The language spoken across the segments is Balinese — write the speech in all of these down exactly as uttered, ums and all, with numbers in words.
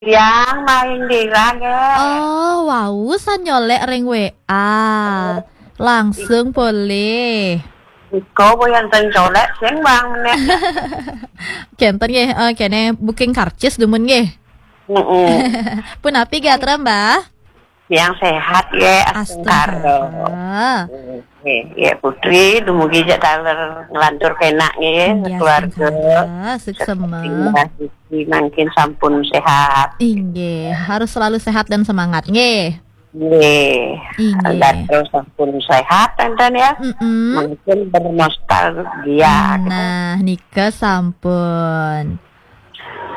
Yang main dira, nggih. Oh, wau san nyolek ring W A. Langsung boleh. Iko boyan ten colek sing bang menek. Kenten nggih, eh, kene booking karcis dumun nggih. Heeh. Punapi gatra, Mbah? Yang sehat ya, astungkara. Astungkara. Nggih, ya Putri, dumugi jak taler ngelantur kenak nggih, Nggih, keluarga. Astungkara, suksema. Mbah Diki mangkin sampun sehat. Inggih, harus selalu sehat dan semangat nggih. Nggih. Inggih. Gatra sampun sehat enten ya. Mm-mm. Mungkin bernostalgia gitu. Nah, nika sampun.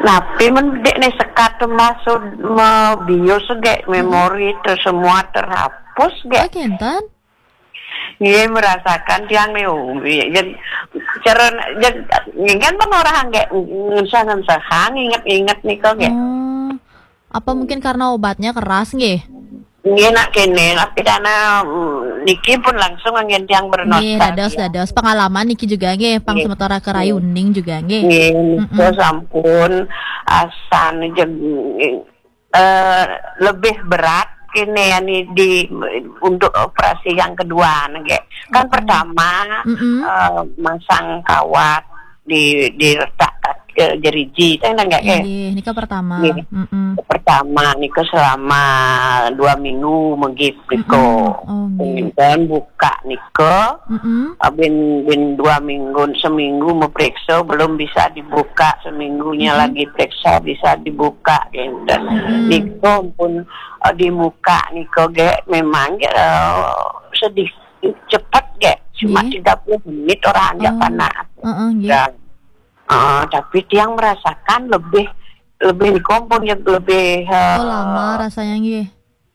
Napi men dek ne sekat masuk me bius gek, Mm-mm. Memori ter semua terhapus gek. Oh, kenten? Iya, merasakan tiang nih, umi. Jadi cara jadi kan pengorang gek, ngensah-ngensah, inget-inget nih kok gek. Oh. Apa mungkin karena obatnya keras nggih? Nggih, nak kene, tapi karena, mm, niki pun langsung angin tiang bernostalgia. Nggih, dados, dados. Pengalaman niki juga nggih, pang Nggih. Sementara kerayu Nggih. Ning juga nggih. Nggih, nika Mm-mm. Sampun asan jeg-, eh, lebih berat kene yani di, untuk operasi yang kedua nggih. Kan Oh. Pertama, Mm-mm. Eh, masang kawat di, diletak ke jeriji, teh nggak, eh? Inggih, nika pertama. Nggih. Mm-mm. Pertama nika selama dua minggu megip nika. Mm-mm. Oh, nggih. Kemudian buka nika, Mm-mm. ah, bin, bin dua minggu, seminggu memeriksa belum bisa dibuka, seminggunya Mm-mm. Lagi periksa bisa dibuka, gitu. Mm-mm. Nika pun, eh, dibuka nika ge memang ge, eh, sedih cepet ge, cuma Nggih. Tiga puluh menit orang aja Oh. Panas. Heeh, nggih. Dan, eh, tapi tiang merasakan lebih, lebih kompon yang lebih, eh, Oh, lama rasanya nggih.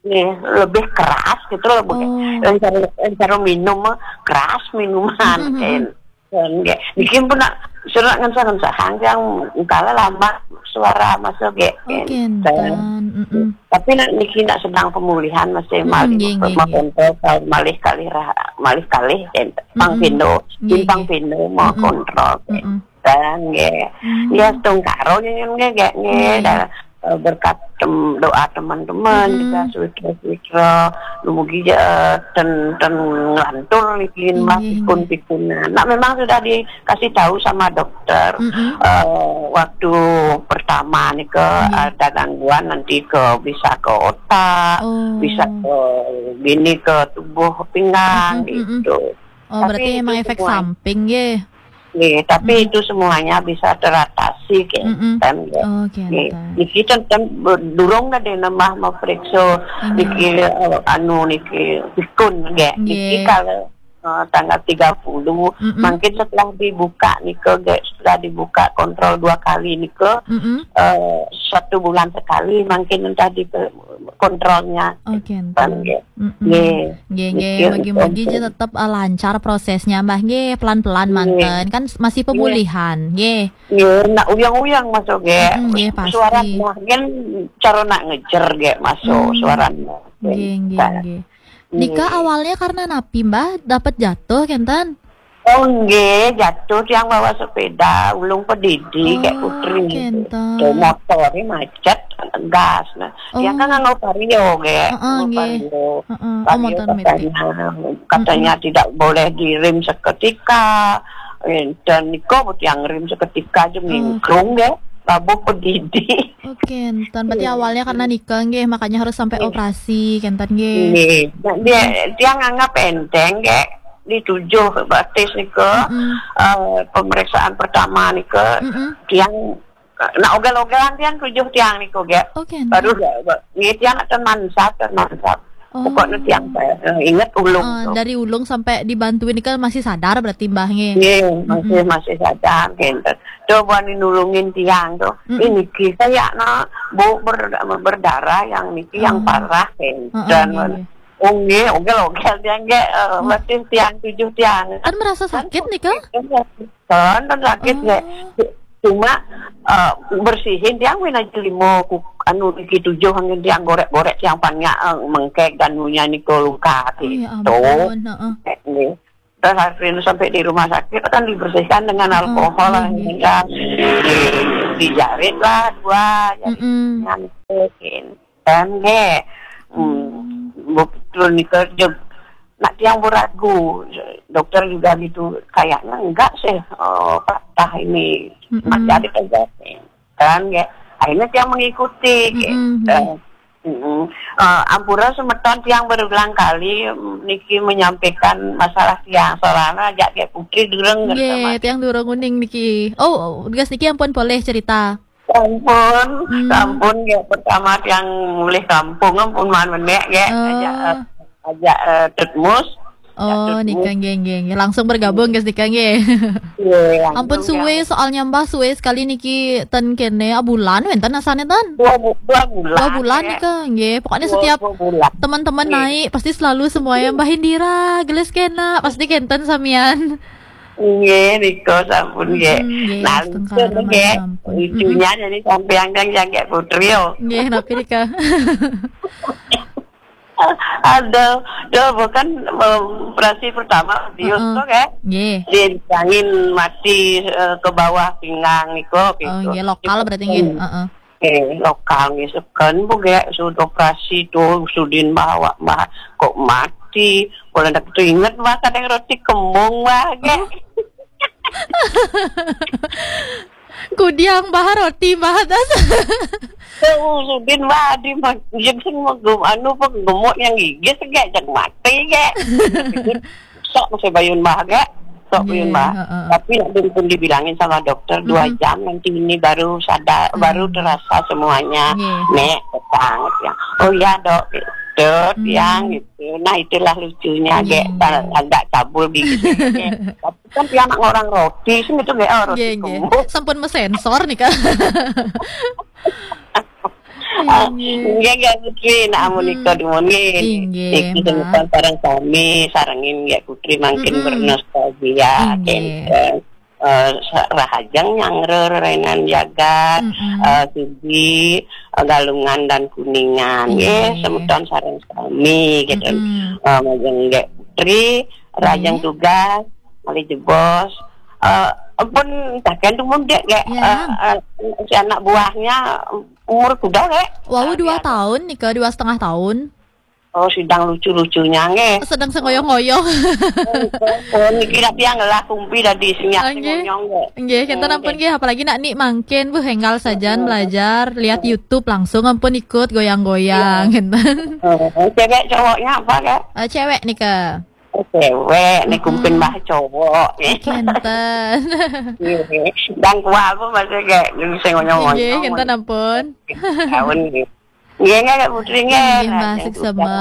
Nggih, lebih keras gitu loh, Bu. Oh. Entar, entar minum mah keras minuman, Mm-mm, mm-mm. Kan. Dan nggih, niki pun nak surat ngensah-ngensah hanggang kala lama suara masuk ge, Oh, kan. Kenten. Mm-mm. Tapi nak niki nak sedang pemulihan masih Mm-mm, malih nggih, nggih, nggih. Kontrol kalau malih kalih rah-, malih kalih, kan. Pang Mm-mm. Pindo, Nggih, bintang nggih. Pindo mau Mm-mm. Kontrol, kan. Mm-mm. Dan nggih. Hmm. Ya, setungkaro nyen nggih, nggih, nggih. Nggih. Dan, eh, berkat tem-, doa teman-teman Mm-mm. Juga, sutra-sutra, dumugi, eh, ten, ten ngelantur niki, Mbah, Nggih, nggih. Pikun-pikunan. Nah, memang sudah dikasih tahu sama dokter, Mm-mm. eh, waktu pertama nika Nggih. Ada gangguan nanti ke, bisa ke otak, Oh. Bisa ke gini, ke tubuh pinggang, Mm-mm, mm-mm. Gitu. Oh, tapi berarti itu emang efek semua samping, nggih? Nggih, tapi Mm-mm. Itu semuanya bisa teratasi, Mm-mm. Kenten, nggih. Oh, nggih. Kenten. Niki ten, ten, durung tadi nambah memeriksa Nggih. Niki, eh, anu niki pikun, nggih. Nggih. Niki kalau, eh, tanggal tiga puluh, Mm-mm. Mungkin setelah dibuka nika, nggih, setelah dibuka kontrol dua kali nika, Mm-mm. Eh, satu bulan sekali mungkin entah di kontrolnya. Oh, kenten. Nggih. Mm-mm. Nggih. Nggih, nggih. Nggih, mugi-mugi nggih. Tetep, eh, lancar prosesnya, Mbah. Nggih, pelan-pelan Nggih. Manten. Kan s-, masih Nggih. Pemulihan. Nggih. Nggih, nak uyang-uyang masuk, nggih. Mm-mm, nggih, pasti. Suara Mbah kan cara nak ngejer, nggih, masuk Hmm. Suara Mbah. Nggih, nggih, Nah. Nggih. Nika awalnya karena napi, Mbah? Dapat jatuh, kenten? Oh, nggih, jatuh tiang bawa sepeda, ulung pedidi, Oh, kayak putri. Kenten. Tuh, motornya macet, gas. Nah, tiang kan Oh. Nganggo Vario, nggih. Heeh, nganggo nggih. Vario. Heeh. Oh, Vario motor metik. Katanya, katanya Mm-mm. Tidak boleh direm seketika. Eh, dan niko tiang rem seketika aja Oh. Mingkrung, nggih. Labuh pedidi. Oh, kenten. Berarti Nggih. Awalnya karena nika, nggih, makanya harus sampai Nggih. Operasi, kenten, nggih. Nggih. Nah, dia, Mm-mm. Tiang anggap enteng, nggih. Di tujuh batis nika, Mm-mm. Eh, pemeriksaan pertama nika, Mm-mm. Tiang, eh, nak ogel-ogelan tiang tujuh tiang nika, nggih. Oh, kenten. Baru nggih, nggih, tiang akan mansap, akan mansap. Oh. Pokoknya tiang, eh, inget ulung Eh, tuh. Dari ulung sampai dibantuin nika masih sadar berarti, Mbah, nggih? Nggih, masih, Mm-mm. Masih sadar, kenten. Coba nih nulungin tiang tuh. Mm-mm. Ini kita ya, nak, Bu, ber-, berdarah yang niki yang Oh. Parah, kenten. Heeh, nggih, nggih. Oh, nggih, ogel-ogel tiang, nggih, eh, Hmm. Berarti tiang tujuh tiang. Kan merasa sakit nih, Kak? Kan, kan sakit, Oh. Nggih. Cuma, eh, bersihin tiang win aja lima ku-, anu, niki tujuh angin tiang gorek-gorek tiang panyak, eh, mengkek dan nunya niko luka Oh, ya gitu. Ampun, heeh. Eh, nggih. Terus akhirnya sampai di rumah sakit kan dibersihkan dengan Oh, alkohol, nggih, nggih. Nggih. Dijarit lah dua jari. Mm-mm. Ngantuk, kan, nggih. Hmm, betul nika, jeg. Nak tiang beragu, dokter juga gitu, kayaknya enggak sih, eh, patah ini, Mm-mm. Mak jarit aja, kan, nggih. Akhirnya tiang mengikuti, nggih. Mm-mm, nggih. Eh, mm-mm. Eh, ampura semeton, tiang berulang kali, mm, niki menyampaikan masalah tiang, soalnya ajak Gek Putri durung. Nggih, sama tiang durung uning niki. Oh, dugas niki ampun boleh cerita. Ampun, hmm. Ampun, ya, pertama tiang mulih kampung, ampun, maan menek, ya. Oh. Ajak, eh, ajak, eh, Tut Mus. Ajak Oh, Tut Mus. Nika nggih, nggih, nggih. Langsung bergabung, guys, nika nggih. Iya, langsung. Ampun, suwe, ya. Soalnya Mbah suwe sekali niki ten kene, ah, bulan wenten asane ten. Dua bu-, dua bulan, dua bulan ya. Nika nggih. Pokoknya dua, setiap dua bulan. Teman-teman iya. Naik, pasti selalu semuanya Mbah Indira, gelis kena, pasti kenten samian. Nggih, nika sampun nggih. Mm-mm, nggih, nah, setengah lucu nggih. Sampun. Lucunya mm-mm. Jadi sampean kan jaga Putri yo. Nggih, napi nika? Aduh, dah bukan, em, operasi pertama bius uh-uh. Tuh, kayak nggih. Dibilangin mati, eh, ke bawah pinggang niku gitu. Oh, nggih, lokal berarti nggih. Hmm. Heeh. Eh, lokal nggih seken bu gek, sudah operasi tuh, sudin bawa, bah, kok mati. Kalau ndak tu inget, bah, kadang roti kembung, bah, gek. Oh. Kudiang, bah, roti, bah, atas. Tuh, sudin, bah, di ma-, jeung sing mau gem-, anu, apa, gemuk yang gigis, gek, jak mati, gek. Sok masih bayun, bah, gek. Sok bayun, bah. Nggih, heeh. Tapi nak pun dibilangin sama dokter, dua mm-mm. Jam nanti ini baru sadar, mm. Baru terasa semuanya. Nggih. Nek, petang, ya. Oh iya, Dok. Dok, mm. Yang gitu. Nah, itulah lucunya, nggih, gek. Nggih. Agak cabul gigi, gek. Tapi kan dia anak orang roti, sing itu, gek, oh, roti nggih, nggih. Kembung. Sampun mesensor nih, Kak. Ah, nggih. Nggih, nggih, Putri. Nah, amun mm-mm. Nika dumun nggih. Inggih, niki Mbak. Semeton sareng sami, sarengin nggih Putri mangkin mm-mm. Bernostalgia, inggih. Kenten. Eh, sa-, rahajeng nyanggra rerenan jagat, mm-mm. Eh, Sigi, eh, Galungan dan Kuningan. Inggih. Nggih, semeton sareng sami, gitu. Mm-mm. Eh, majeng nggih Putri, rahajeng inggih. Tugas, malih jebos. Eh, ampun, taken dumun, Dek, nggih. Ya. Eh, eh, si anak buahnya, Umur kuda, Kak? Wau dua tahun nika, dua setengah tahun. Oh, sedang lucu-lucunya, nggih. Sedang sengoyo-ngoyo. Oh, niki nak tiang ngelah kumpi dadi senyap. Ah, nggih. Sing ngonyong, nggih. Nggih, kenten ampun nggih, apalagi nak nik mangkin, buh, enggal sajan belajar, lihat YouTube langsung ampun ikut goyang-goyang, kenten. Oh, cewek cowoknya apa, Kak? Eh, cewek nika. Oh, cewek, nih kumpin bah cowok. Kenten. Iya. Dang kual pun masih kayak sing ngonyong-ngonyong. Nggih, kenten ampun. Tahun nggih. Nggih, nggih, Kak Putri, nggih. Nggih, Mbak, suksma.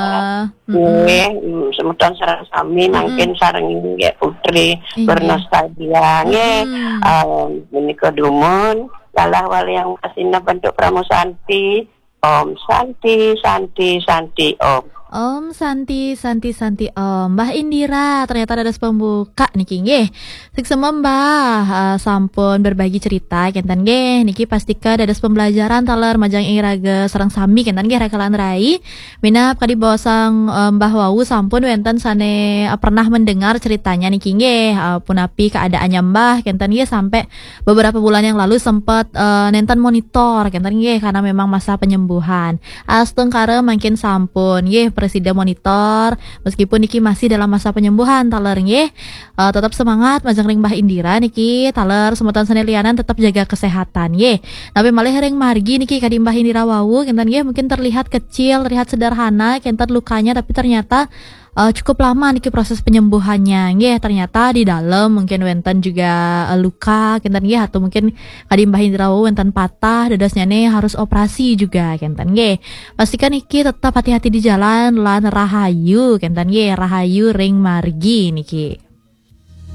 Nggih, mm, semeton sareng sami, mangkin sareng nggih Putri, nggih. Bernostalgia, nggih. Mm. Em, menika dumun, lalah wali yang kasina bentuk Pramu Santi. Om Santi, Santi, Santi, Om. Om Santi, Santi, Santi, Om. Mbah Indira, ternyata dados pembuka niki nggih. Suksma Mbah, eh, sampun berbagi cerita kenten nggih. Niki pastika dados pembelajaran taler majeng ing raga sareng sami kenten nggih rakalan rai. Minab kadi bosang, eh, Mbah wau sampun wenten sane, eh, pernah mendengar ceritanya niki nggih. Eh, punapi keadaannya Mbah kenten nggih sampai beberapa bulan yang lalu sempat, eh, nenten monitor kenten nggih karena memang masa penyembuhan. Astungkara mangkin sampun nggih presida monitor meskipun niki masih dalam masa penyembuhan taler nggih. Eh, tetap semangat majeng ring Mbah Indira niki taler semeton sane lianan tetap jaga kesehatan nggih. Tapi malih ring margi niki kadi Mbah Indira wau kenten nggih mungkin terlihat kecil, terlihat sederhana kenten lukanya tapi ternyata eh, cukup lama niki proses penyembuhannya. Nggih, ternyata di dalam mungkin wenten juga, eh, luka, kenten nggih, atau mungkin kadi Mbah Indira wau wenten patah, dadosnya nih harus operasi juga, kenten nggih. Pastikan niki tetap hati-hati di jalan, lan rahayu, kenten nggih, rahayu ring margi niki.